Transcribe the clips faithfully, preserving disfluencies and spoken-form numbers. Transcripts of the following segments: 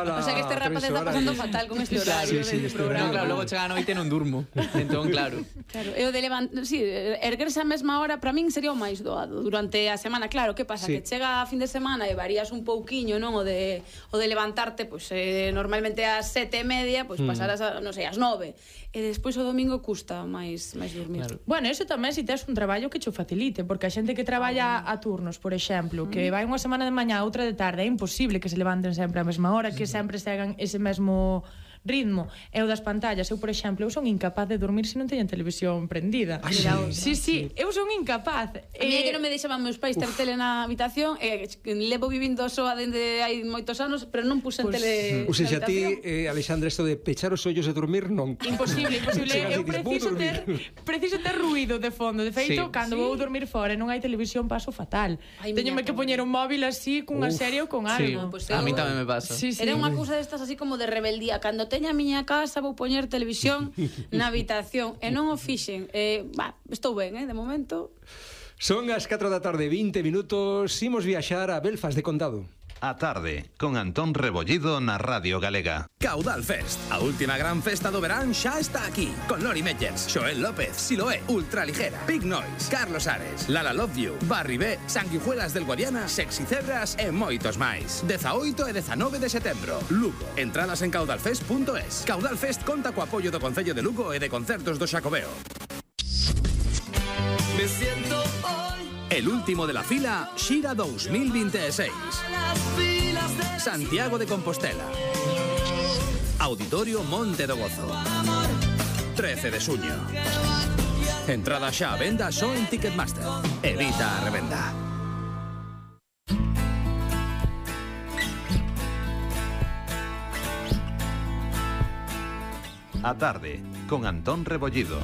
semana. O sea que este rapaz está pasando fatal con este horario del programa. Claro, logo chega a noite e non durmo. Entón, claro. Claro, e o de levantar, sí, erguerse a mesma hora para min sería o máis doado durante a semana. Claro, que pasa? Sí. Que chega a fin de semana e varías un pouquiño, non? O de, o de levantarte, pois, eh, normalmente ás sete e media, pois Mm. pasarás a, non sei, ás nove. E despois o domingo custa máis máis dormir. Claro. Bueno, eso tamén se tes un traballo que cho facilite, porque a xente que traballa a turnos, por exemplo, que vai unha semana de mañá, outra de tarde, é imposible que se levanten sempre á mesma hora, que sempre segan ese mesmo ritmo. E o das pantallas, eu, por exemplo, eu son incapaz de dormir se non teñen televisión prendida. Ai, sí, sí, sí, eu son incapaz. A mí é que non me deixaban meus pais ter tele na habitación e levo vivindo soa dende hai moitos anos, pero non puxen Pues, tele Ou seja, na ti, habitación. eh, Alexandra, isto de pechar os ollos e dormir, non. Imposible, imposible. Chegas e Eu dices, "Vou preciso dormir". ter preciso ter ruído de fondo. De feito, Sí. cando Sí. vou dormir fora e non hai televisión, paso fatal. Ai, Teñome miña que pobre. poñer un móvil así cunha Uf, serie ou con Sí, algo. Pues a mí eu- tamén me pasa. Sí, sí. Era unha cousa destas así como de rebeldía. Cando teña a miña casa vou poñer televisión na habitación e non o fixen. Eh, bah, estou ben, eh, de momento. Son as catro da tarde, vinte minutos. Imos viaxar a Belfast de Condado. A tarde, con Antón Rebollido na Radio Galega. Caudal Fest, a última gran festa do verán xa está aquí. Con Lori Meyers, Xoel López, Siloé, Ultraligera, Big Noise, Carlos Ares, Lala Love You, Barry B, Sanguijuelas del Guadiana, Sexy Cebras e moitos máis. dezaoito e dezanove de setembro, Lugo. Entradas en caudalfest punto es. Caudal Fest conta co apoio do Concello de Lugo e de Concertos do Xacobeo. Me siento hoy El último de la fila, Xira dos mil veintiséis. las filas de Santiago de Compostela. Auditorio Monte do Gozo. trece de xuño. Entrada xa a venda só en Ticketmaster. Evita a revenda. A tarde, con Antón Rebollido.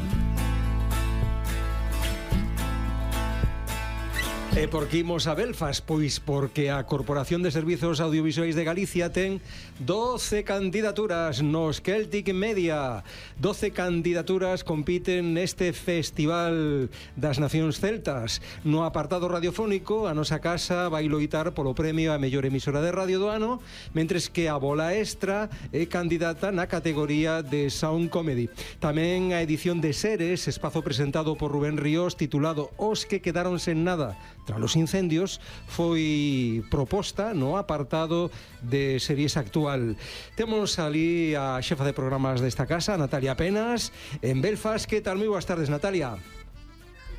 E por que imos a Belfast? Pois porque a Corporación de Servizos Audiovisuais de Galicia ten doce candidaturas nos Celtic Media. doce candidaturas compiten neste Festival das Nacións Celtas. No apartado radiofónico, a nosa casa vai loitar polo premio a mellor emisora de radio do ano, mentres que a Bola Extra é candidata na categoría de Sound Comedy. Tamén a edición de Seres, espazo presentado por Rubén Ríos, titulado Os que quedaron sen nada tras os incendios, foi proposta no apartado de series actual. Temos ali a xefa de programas desta casa, Natalia Penas, en Belfast. Que tal? Moi boas tardes, Natalia.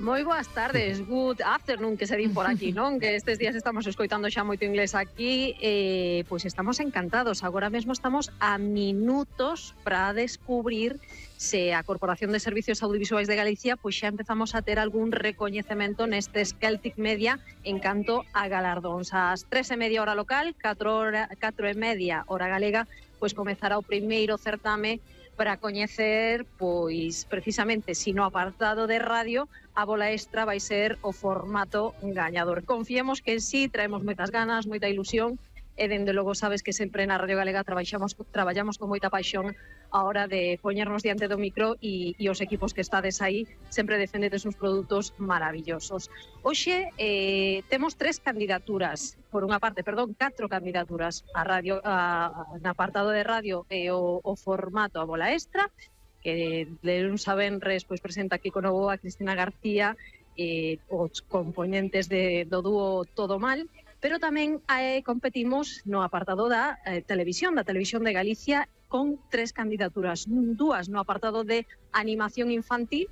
Moi boas tardes, good afternoon, que se din por aquí, non? Que estes días estamos escoitando xa moito inglés aquí, eh, pois estamos encantados. Agora mesmo estamos a minutos para descubrir se a Corporación de Servicios Audiovisuais de Galicia pois xa empezamos a ter algún recoñecemento nestes Celtic Media en canto a galardóns. Ás tres e media hora local, catro e media hora galega, pois comezará o primeiro certame para coñecer, pois, precisamente, si no apartado de radio, a Bola Extra vai ser o formato gañador. Confiemos que sí, traemos moitas ganas, moita ilusión, e dende logo sabes que sempre na Radio Galega traballamos, traballamos con moita paixón a hora de poñernos diante do micro e, e os equipos que estades aí sempre defendedes uns produtos maravillosos. Hoxe eh, temos tres candidaturas, por unha parte, perdón, catro candidaturas a radio, a, a, na apartado de radio e o, o formato a Bola Extra, que de luns a venres pois, presenta aquí con novo a Cristina García e os componentes de, do dúo Todo Mal, pero tamén eh, competimos no apartado da eh, televisión, da Televisión de Galicia, con tres candidaturas, dúas no apartado de animación infantil,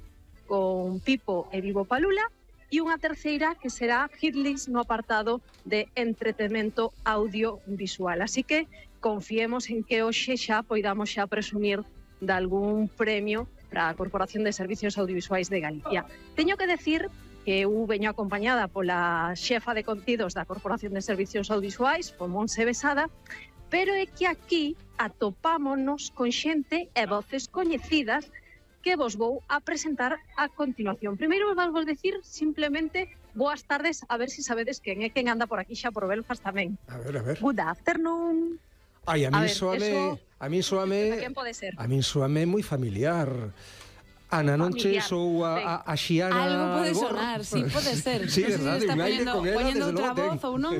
con Pipo e Vivo Palula, e unha terceira que será Hitlist no apartado de entretenimento audiovisual. Así que confiemos en que hoxe xa poidamos xa presumir de algún premio para a Corporación de Servicios Audiovisuais de Galicia. Teño que decir que eu veño acompañada pola xefa de contidos da Corporación de Servicios Audiovisuais, por Monse Besada, pero é que aquí atopámonos con xente e voces coñecidas que vos vou a presentar a continuación. Primeiro vos vou decir simplemente boas tardes, a ver se si sabedes quen é quen anda por aquí xa por Belfast tamén. A ver, a ver. Good afternoon. Ai, a A min ver, soame, eso- a min soame, A quen pode ser? a min soame moi familiar. Ana, non che Familiar, sou a, a, a Xiana Algo pode Albor? sonar, sí, pode ser. Sí, Non sei se verdade, está un aire poñendo, con ela, poñendo desde outra logo ten. voz ou non.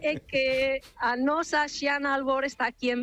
É que a nosa Xiana Albor está aquí en